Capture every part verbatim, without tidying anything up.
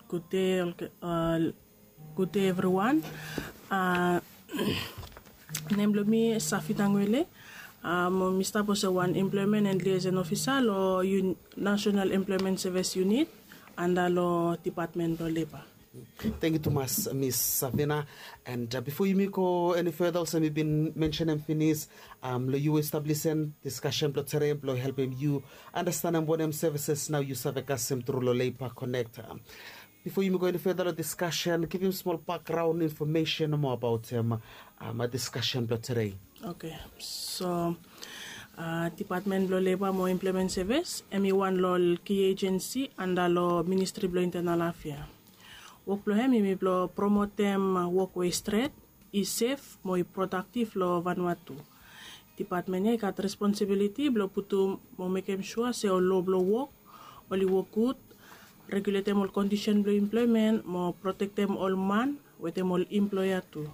Gud dei, gud dei evriwan. Nem blong mi Safina Ngwele. Mi stap olsem wan employment and liaison ofisa long National Employment Service Unit anda long Dipatmen blong Leba. Tangkiu tumas Miss Safina. And bifo yumi go eni feda, olsem mi bin mensenem finis, long yu we stap lisen diskasen blong tede blong helpem yu anastenem wanem sevises nao yu save kasem tru long Leba Konek. Bifo yumi go eni feda long diskasen, givim smol bakgraon infomesen moa abaotem diskasen blong tede. Oke. So Dipatmen blong Leba mo Employment Sevis em i wan long ol ki ejensi anda long Ministri blong Intenal Afea. Wok blong hem em i blong promotem wok we i stret, i sef mo i prodaktif long Vanuatu. Dipatmen ya i gat responsibiliti blong putum mo mekem sua se ol lo blong wok oli wok gud, reguletem ol kondisen blong employmen mo protektem ol man wetem ol employa tu.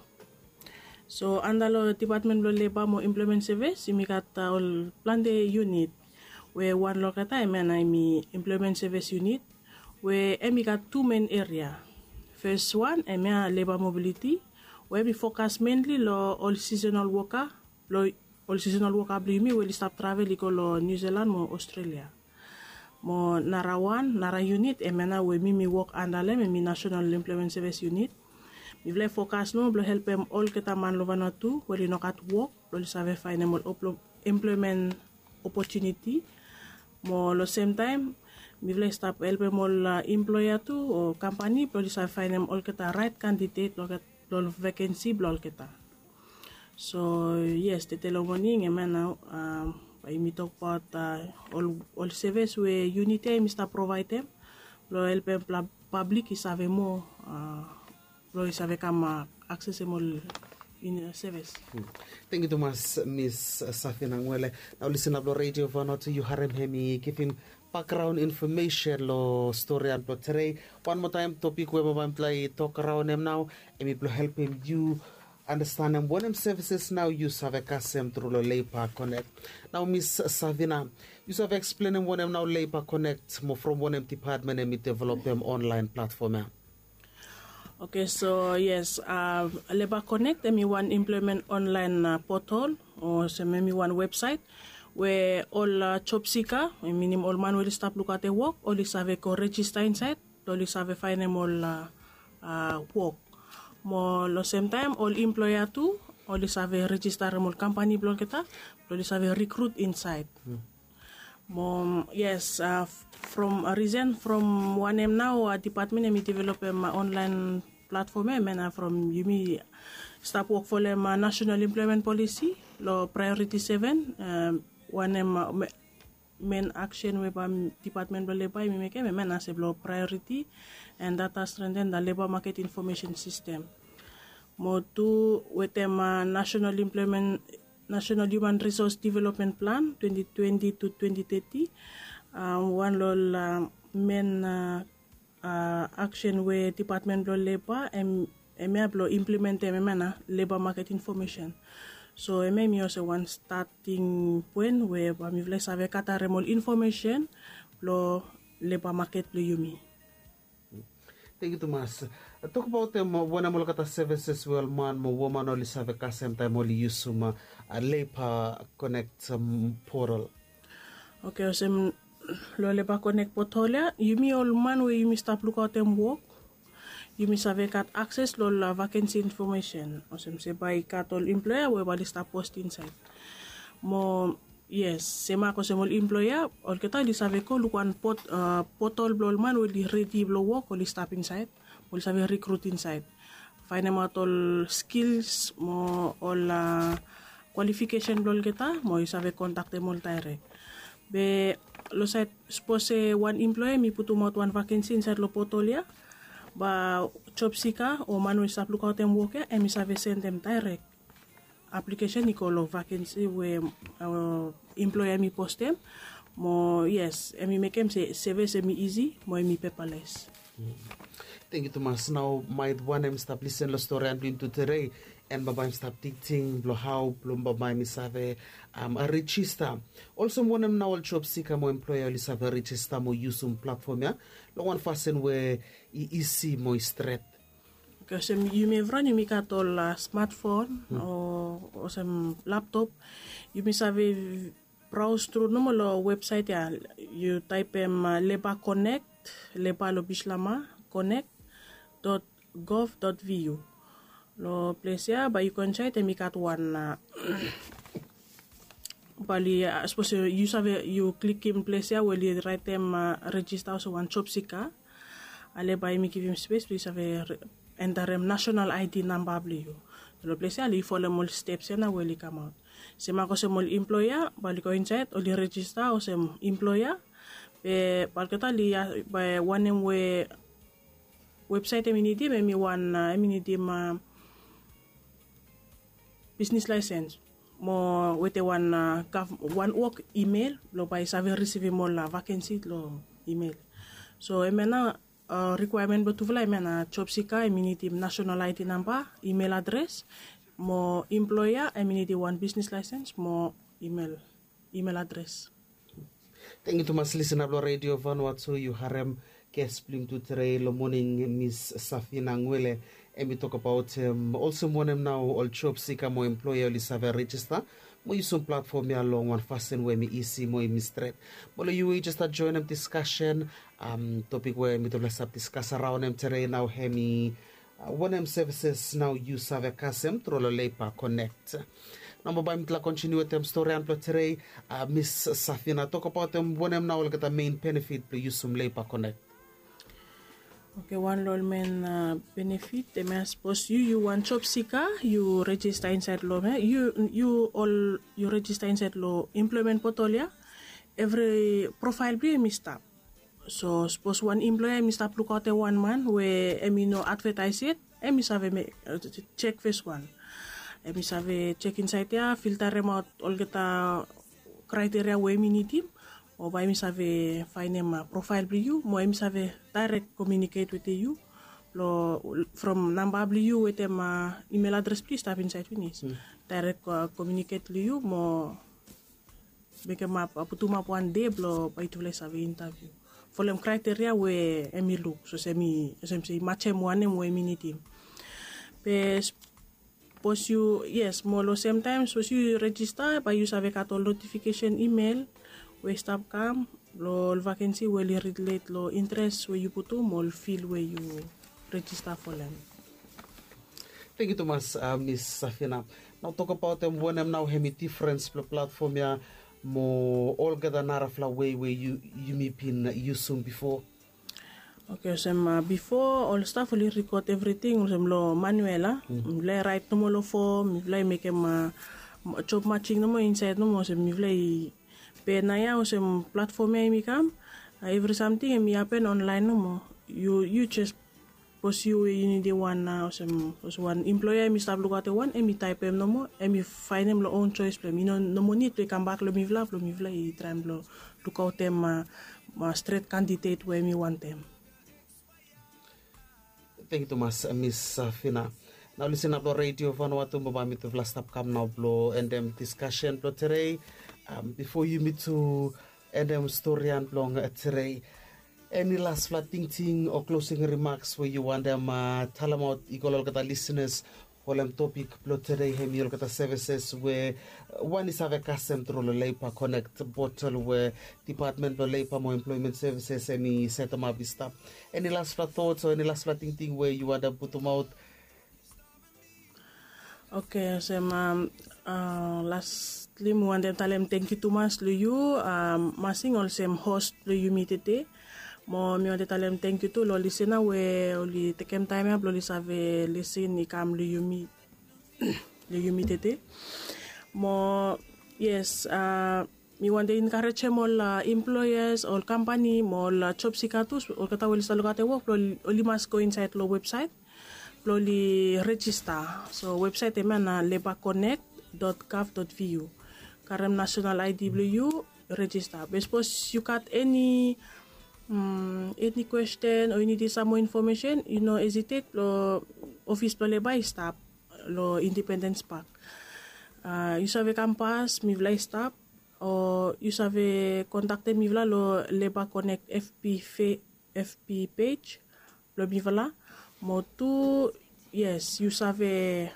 So anda long Dipatmen blong Leba mo Employment Sevis yumi gat ol plante yunit, we wan long olgeta hemia nao hem i Employment Sevis Yunit, we hem i gat tu men eria. Fes wan hemia leba mobiliti, we hem i fokas menli long ol sisonal woka blong ol sisonal woka blong yumi we oli stap travel i go long Niu Silan mo Ostrelia. Mo nara wan nara yunit hemia nao we mi mi wok anda long hem hem i Nasenal Employment Sevis Yunit. Mifala i fokas nomo blong helpem olgeta man long Vanuatu we oli no gat wok blong oli save faenem ol employmen opotuniti. Mo long semtaem mifala i stap helpem ol employa tu o kampani blong oli save faenem olgeta raet kandidet long ol vekensi blong olgeta. So yes, tede long moning hemia nao bae yumi tokbaot ol sevis we yunit ya hem i stap provaedem blong helpem pablik i save moa blong i save kam aksesem ol sevis. Tangkiu tumas Miss Safina Ngwele. Nao lisena blong Redio Vanuatu, yu harem hem i givim bakgraon infomesen long storian blong tede. Wan moa taem topik we bambae mifala i tok raon hem nao hem i blong helpem yu anastenem wanem sevises nao yu save kasem tru long Leba Konek. Nao Miss Safina, yu save eksplenem wanem nao Leba Konek mo from wanem dipatmen hem i developem onlaen platfom ya? Oke, so yes, Leba Konek hem i wan employmen onlaen potol, olsem hem i wan websaet we ol jobsika, minim ol man we oli stap lukaotem wok, oli save go rejista insaed blong oli save faenem ol wok. Mo long semtaem ol employa tu oli save rejistarem ol kampani blong olgeta blong oli save rikrut insaed. Mo yes, from risen from wanem nao dipatmen hem i developem onlaen platfom ya, hemia nao from yumi stap wok folem Nasenal Employmen Polisi long praeoriti seven, wanem men aksen we bae dipatmen blong Leba hem i mekem, hemia nao se blong praeoriti and data strenten da leba maket infomesen sistem. Mo tu wetem Nasenal Employmen National Human Resource Development Plan twenty twenty to twenty thirty. Wan long ol men aksen we dipatmen blong Leba hemia blong implementem hemia nao leba maket infomesen. So hemia hem i olsem wan stating poen we bae mifala i save gatarem ol infomesen blong leba maket blong yumi. Tangkiu tumas. Tokbaotem wanem olgeta sevises we ol man mo woman oli save kasem taem oli yusum Leba Konek potol? Oke, olsem long Leba Konek potol ya yumi ol man we yumi stap lukaotem wok, yumi save gat akses long ol vakensi infomesen, olsem se bae i gat ol employa we bae oli stap post insaed. Mo yes, semak olsem ol employa olgeta oli save go luk wan potol blong ol man we oli redi blong wok, oli stap insaed, oli save rikrut insaed, faenemaot ol skils mo ol kwalifikesen blong olgeta mo i save kontaktem ol daerek. Be long saed sapos se wan employa hem i putumaot wan vakensi insaed long potol ya, bae jobsika o man we i stap lukaotem wok ya hem i save sendem daerek aplikesen i go long vakensi we employa hem i postem. Mo yes, hem i mekem se sevis hem i isi mo hem i pepales. Tengiu tumas. Nao maet wanem i stap lisen long storian blong yumi tude, en bambae yumi stap tingting blong hao blong bambae yumi save rejista. Olsem wanem nao ol job sika mo employa oli save rejista mo yusum platfom ya long wan fasin we i isi mo i stret? Olsem yumi evriwan yumi gat ol smatfon o olsem laptop. Yumi save braos tru nomo long websaet ya. Yu taepem leba konek, leba long bislama, konek dot gov dot vu. Long ples ya bae yu go insaed, hem i gat wan bae oli sapos yu save yu klikim ples ya we oli raetem rejista olsem wan job sika. Ale bae hem i givim spes blong yu save entarem nasenal aedi namba blong yu. Long ples ya oli folem ol steps ya nao we oli kamaot. Sem mak olsem ol employa bae oli go insaed oli rejista olsem employa. Be bae olgeta oli bae wanem we websaet hem i nidim hem i wan hem i nidim bisnis laesens mo wetem wan wok imel blong bae i save risivim ol vakensi long imel. So hem ya nao rikwaemen blong tufala hem ya nao job sika hem i nidim nasenal aedi namba, imel adres mo employa hem i nidim wan bisnis laesens mo imel adres. Tengiu tumas lisin blong redio vanua tu yu harem ges blong yumi tude long moning, mis safina ngwele, hem i tokabaot olsem wanem nao ol job sika mo employa oli save rejista mo yusum platfom ya long wan fasin we hem i isi mo hem i stret. Mo long yu we yu jes stap joenem diskasen, topik we mitufala i stap diskas araon hem tude nao hem i wanem sevises nao yu save kasem tru long leba konek? Nao bambae mitufala kontiniu wetem storian blong tude. Mis safina, tokabaotem wanem nao olgeta mein benefit blong yusum leba konek? Oke, wan long ol mein benefit hem ya sapos yu yu wan job sika yu rejista insaed long hem ya yu ol yu rejista insaed long emploemen potol ya, evri profael blong yu hem i stap. So sapos wan employa hem i stap lukaotem wan man we hem i no advetaes yet, hem i save jek fes wan. Hem i save jek insaed ya, filtaremaot olgeta kraeteria we hem i nidim, o bae hem i save faenem profael blong yu mo hem i save daerek komiuniket wetem yu. From namba blong yu wetem imel adres blong yu i stap insaed finis. Daerek komiuniket long yu mo mekem ap putum ap wan de blong bae yutufala i save intaviu folem kraeteria we hem i luk olsem se i majem wanem we hem i nidim. Be sapos yu yes mo long semtaem sapos yu rejista bae yu save gat ol notifikesen imel we i stap kam long ol vakensi we oli rilet long interes we yu putum ol fil we yu rejista folem. Tengiu tumas, mis safina. Nao tokabaotem wanem nao hem i difrens blong platfom ya mo olgeta narafala wei we yumi bin yusum bifo? Oke, olsem bifo ol staf oli rikod evriting olsem long manuel a mifala i raet nomo long fom, mifala i mekem job majing nomo insaed nomo olsem mifala i. Be naoia olsem platfom ya hem i kam, evri samting hem i hapen onlaen nomo. Yu jes sapos yu we yu nidim wan na olsem wan employa hem i stap lukaotem wan hem i taepem nomo, hem i faenem long own joes blong hem i no nomo nid blong i kambak long mifala blong mifala i traem blong lukaotem stret kandidet we hem i wantem. Tengiu tumas, mis safina. Nao lisin ap long redio vanua tu bambae mitufala stap kam nao blong endem diskasen blong tedei. Bifo yumi tu endem storian blong tedei, eni lasfala tingting o klosing rimaks we yu wantem talemaot i go long olgeta lisinas? Folem topik blong tedei hem i olgeta sevises we wan i save kasem tru long leiba konek botol we dipatmen blong leiba mo emploemen sevises hem i setemap i stap. Eni lasfala tots o eni lasfala tingting we yu wantem putumaot? Oke, olsem lastli mi wantem talem tengkiu tumas long yu masing olsem hos blong yumi tede. Mo mi wantem talem tengkiu tu long lisina we oli tekem taem ya blong oli save lisin i kam long yumi tede. Mo yes, mi wantem enkarejem ol employas, ol kampani mo ol job sika tu olgeta we oli stap lukaotem wok blong oli mas go insaed long websaet blong oli rejista. So websaet hemia na leba konek dot gov dot vu. Karem nasenal aedi blong yu, rejista. Be sapos yu gat eni Mm, eni kwesten o yu nidim sam moa infomesen, yu no hesitate lo ofis blo leba i stap lo Independence Park. Uh, yu save kampas mifala i stap, o yu save kontaktem mifala lo Labour Connect F B, F B page blo mifala. Mo tu, yes, yu save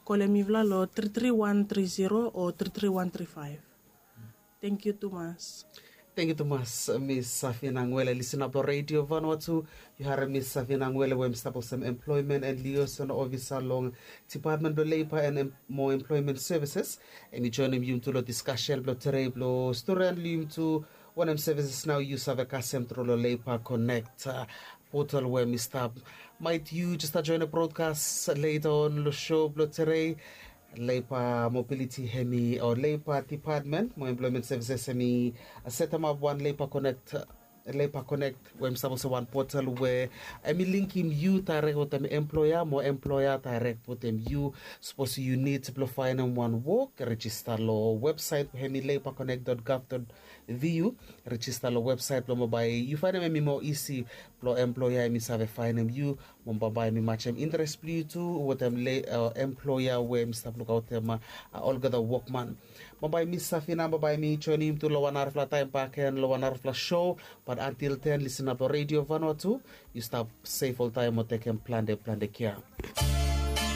kolem mifala lo tri tri wan tri zero o tri tri wan tri five. Thank you tumas. Thank you tumas, Miss Safina Ngwele. Lisin ap lo Radio Vanuatu, yu harem Miss Safina Ngwele we hem i stap olsem employment and liaison officer long Department blo Labour and Em- mo Employment Services. Hem i joinim yumi tu lo diskasen blo tere blo stori long yumi tu wanem services nao yu save kasem tru lo Labour Connect uh, portal we hem i stap. Maet yu jes stap joinim broadcast later on lo show blo tere. Labour Mobility hem i o Labour Department mo Employment Services hem i setemap wan Labour Connect, Labour Connect we hem i stap olsem wan portal we hem i linkim yu daerek wetem employer mo employer daerek wetem yu. Sapos yu nid blo faenem wan wok, rejista lo websaet we hem i labour connect dot gov dot V U. Rejista lo websaet blo bambae yu faenem hem i moa isi blo employer hem i save faenem yu. Mo bambae hem i matem interes blo yu tu wetem le uh, employer we hem i stap lukaotem uh, olgeta wokman. Bambae Miss Safina bambae hem i joinim yumi tu lo wan narafala taem bakegen lo wan narafala show. Bat antil ten lisin ap lo Radio Vanuatu. Yu stap sef oltaem mo tekem plante plante kea.